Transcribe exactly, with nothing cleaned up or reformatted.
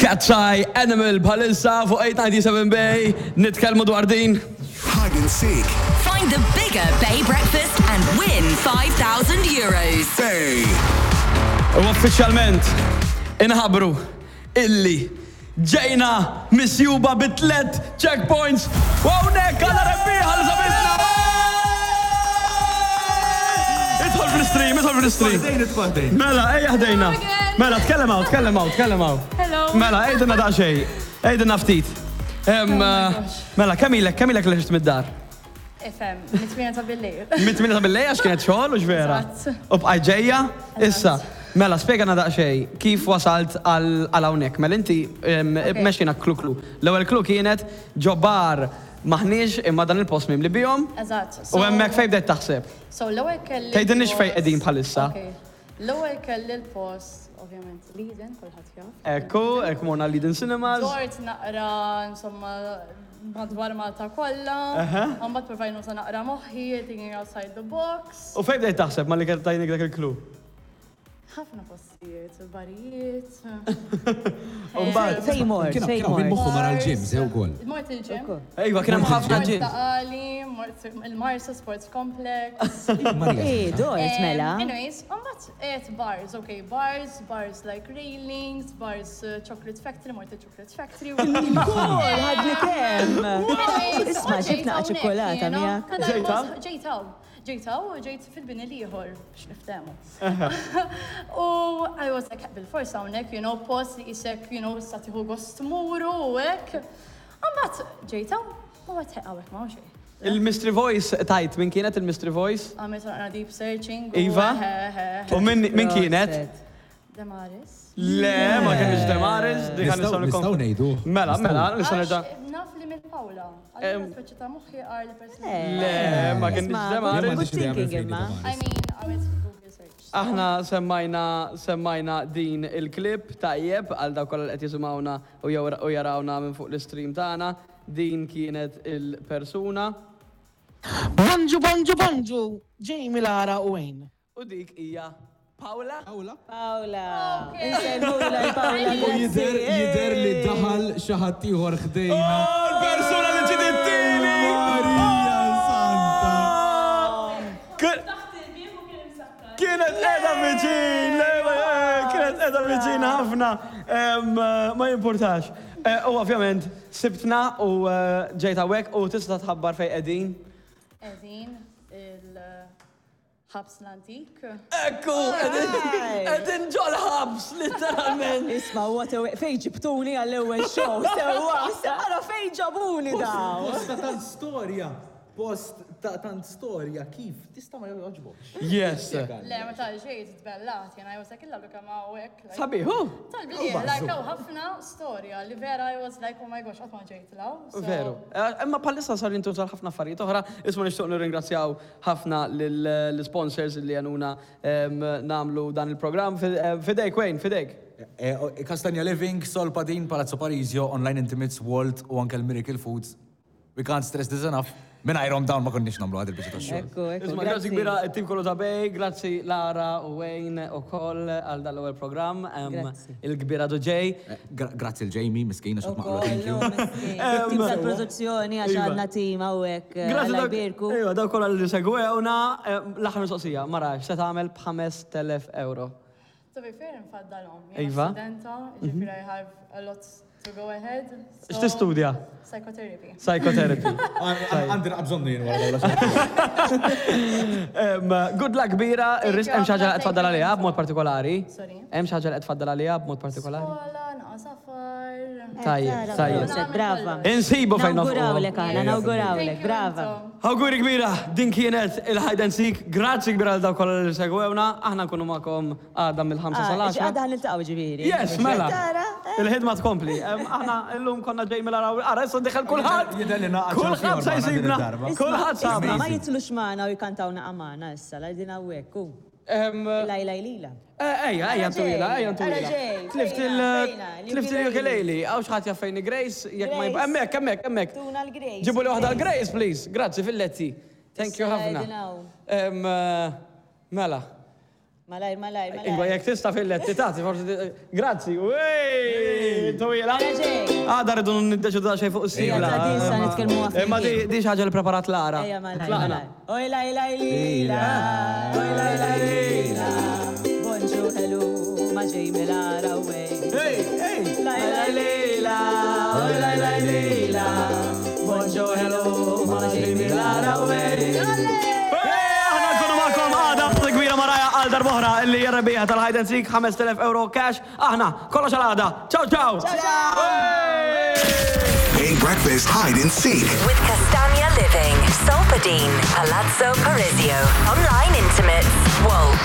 Katseye, Animal bħalissa fuq eight ninety-seven Bay, nitkellmu dwar din. Hide and seek. Find the bigger Bay breakfast and win five thousand euros. Bay. U uffiċjalment inħabbru illi ġejna misjuba bi tlet checkpoints u hawnhekk għandna rebbieħa li sabitna. Idħol fl-stream, idħol fl-stream. Mela, ejja ħdejna. Mela, tkellem hawn, tkellem hawn, tkellem hawn. Hello. Mela, għidilna daqsxejn, għidilna ftit. Em, Oh my gosh. Mela, kemm ilek, kemm ilek li ħriġt mid-dar? Ifhem, mit-tmienja ta' bil-lejl. Mit-tmienja ta' bil-lejl għax kienet xogħol u vera. Eżatt. U bqajt ġejja, issa. Mela, spjegana daqsxejn, kif wasalt għal għal hawnhekk? Mela inti em, Ok. mexxina clue clue. L-ewwel clue kienet ġo bar maħniex imma dan il-post mimli bihom. Eżatt. U hemmhekk fejn bdejt taħseb? So l-ewwel kelli. Tgħidilniex fejn l-post- qegħdin bħalissa. Ok. L-ewwel kelli l-post, ovvjament, l-Eden, kulħadd jaf. Ekku, ekku morna l-Eden Cinemas. Dort naqra, insomma, madwar Malta kollha. Mbagħad provajt nuża naqra moħħi, thinking outside the box. U fejn bdejt taħseb ma li tajnik dak il-clue? Ħafna postijiet, barijiet. U mbagħad. Fej mort, Kien fej kien min mort. moħħu mar għal-gym, sew ukoll. Mort il-gym. Ejwa, kien hemm ħafna Mort gym. Ta' Qali, mort il-Marsa Sports Complex. Marija. Eh, dort mela. Um, Anyways, mbagħad għedt bars, okay, bars, bars like railings, bars uh, Chocolate Factory, mort il-Chocolate Factory. Cool, ħadni kemm. Anyways, Isma' u ġib naqa ġejt ċokolata hawnhekk, miegħek. jiena. Ġejt hawn? Ġejt hawn. Ġejt hawn u ġejt fil-bini l-ieħor biex niftehmu. U I was like, bil-forsa hawnhekk, you know, post li qisek, you know, sa tieħu gost tmuru u hekk. Mbagħad ġejt hawn u għedt hawnhekk ma xejn. Il-Mystery Voice tajt, min kienet il-Mystery Voice? Għamilt naqra deep searching. u Iva? he, he, he. U min min kienet? Demaris. Le, ma kienx Demaris. Dik Nistgħu nistgħu nistgħu ngħidu. Mela, mela, nistgħu Għax nerġa'. naf li minn Paula. Allura speċi ta' moħħi għar li persuna. Le, ma kienx Isma' Demaris. good M'għandix idea minn thinking fejn imma. I mean, għamilt Google search. Aħna semmajna semmajna din il-klip tajjeb għal dawk kollha li qed jisimgħuna u jew- u jarawna minn fuq l-stream tagħna. Din kienet il-persuna Bonġu, bonġu, bonġu, Jamie, Lara u Wayne. U dik hija Paula. Paula. Paola. Insellmula l-Paola. U jidher jidher li daħal xi ħadd ieħor ħdejna. Oh, l-persuna li ġiet it-tieni! Marija Santa. Kienet qiegħda viċin, le, eh, kienet qiegħda viċin ħafna, Em, eh, ma jimpurtax. Eh, U ovvjament, sibtna u eh, ġejt hawnhekk u tista' tħabbar fejn qegħdin. Qegħdin il-ħabs l-antik. Ekku, qegħdin ġol-ħabs, literalment. Isma, what a way. Fej ġibtuni għall-ewwel show, sewwa, ara fej ġabuni daw. Post ta' tant storja, post ta' tant storja, kif tista' ma joġbokx? Yes. Le, meta ġejt tbellat, jena I was like, illa kemm hawnhekk. Like, Sabiħ, hu? Tal-bliet, like, hawn ħafna storja li vera I was like, "Oh my gosh, qatt ma ġejt 'l hawn." So- Veru. Eh, Imma bħalissa sar jintużaw ħafna affarijiet oħra, isma' nixtieq nirringrazzjaw ħafna lill-sponsors li għenuna em, nagħmlu dan il-programm. Fidejk, Wayne, fidejk. Eh, Castagna Living, Sol Padin, Palazzo Parisio, Online Intimates, Walt u anke l-Miracle Foods. We can't stress this enough. Mingħajrhom dawn ma konniex nagħmlu għad il-biċċa tax-xogħol. Ekku, ekku. Isma' grazzi kbira it-tim kollu ta' Bay, grazzi Lara u Wayne u koll għal dan l-ewwel programm. em, Grazzi. Il-kbira Ġej. Eh, gra- Grazzi l-Jamie, miskina xat maqlu, thank you. Tim tal-produzzjoni għax għandna tim hawnhekk Grazzi Alla dawk- jbierku. Ejwa, dawk kollha li segwewna. Em, L-aħħar mistoqsija, Mara, x'se tagħmel b'ħamest elef euro? To be fair, nfaddalhom. Iva. Jiena studenta, ġifieri I have a lot to go ahead. So- X'tistudja? Psychotherapy. Psychotherapy. Għandi bżonnu jien wara dawla. Em, Good luck kbira, Thank you hemm xi ħaġa li ħafna, qed tfaddal thank you. għaliha b'mod partikolari? Sorry. Hemm xi ħaġa li qed tfaddal għaliha b'mod partikolari? Skola, naqa safar. Tajjeb, tajjeb. Proset, brava. Insibu fejn nofqu. Nawgurawlek aħna, nawgurawlek, Thank you, brava. intom. Awguri kbira, din kienet il-hide and seek. Grazzi kbira għal dawk kollha li segwewna. Aħna nkunu magħkom għada mill-ħamsa Ah, sal-għaxra. Għada ħa niltaqgħu ġifieri. Yes, mela. Tara, eh. Il-ħidma tkompli. Em, Aħna llum konna ġej mill araw. Ara, issa diħel kulħadd. Jidher li naqgħad xi Kulħadd sa ieħor magħna din jsibna. id-darba. Kulħadd Isma, sabna. ma jitilgħux magħna u jkantaw naqa magħna issa, la din hawnhekk, u. Em, Lajla lila. eh, Ejja, ejja ntwila, ejja ntwila. Ara ġej, Tlift fejna, il- fejna, tlift il-ukulele. Hawn xi ħadd jaf fejn Grace, jekk ma jib. Grace. Hemmhekk, hemmhekk, hemmhekk. Tuna l-Grace. Ġibu li waħda l-Grace, please. Grazzi, filletti. Thank you Issa ħafna. qegħdin hawn. Em, eh, Mela. Malajr, malajr, Ingwa, malajr. jekk tista' fil-letti tagħti, forsi. Grazzi. Wey! Twila. Mela ġej. Għada rridu niddeċidu xejn fuq is-sigla. Ejja, ta' din sa nitkellmu għaf Imma di di xi ħaġa li preparat Lara. Ejja, malajr, Tlaqna. malajr. Oj, laj, laj, lila. Oj, laj, laj, lila. Bonġu, hello, ma Jamie Lara, wey. Hey, hey! Laj, laj, lila. Oj, laj, laj, lila. Bonġu, hello, ma Jamie Lara, wey. Hey, aħna nkunu magħkom għada kbira Maraja għal darb'oħra li jirrebbieħa tal-Hide and Seek ħamest elef euro cash. Aħna, kollox għal għada. Ciao, ciao! Ciao, Bay Breakfast Hide and Seek. With Castagna Living, Solpadeine, Palazzo Parisio, Online Intimates, Wolt.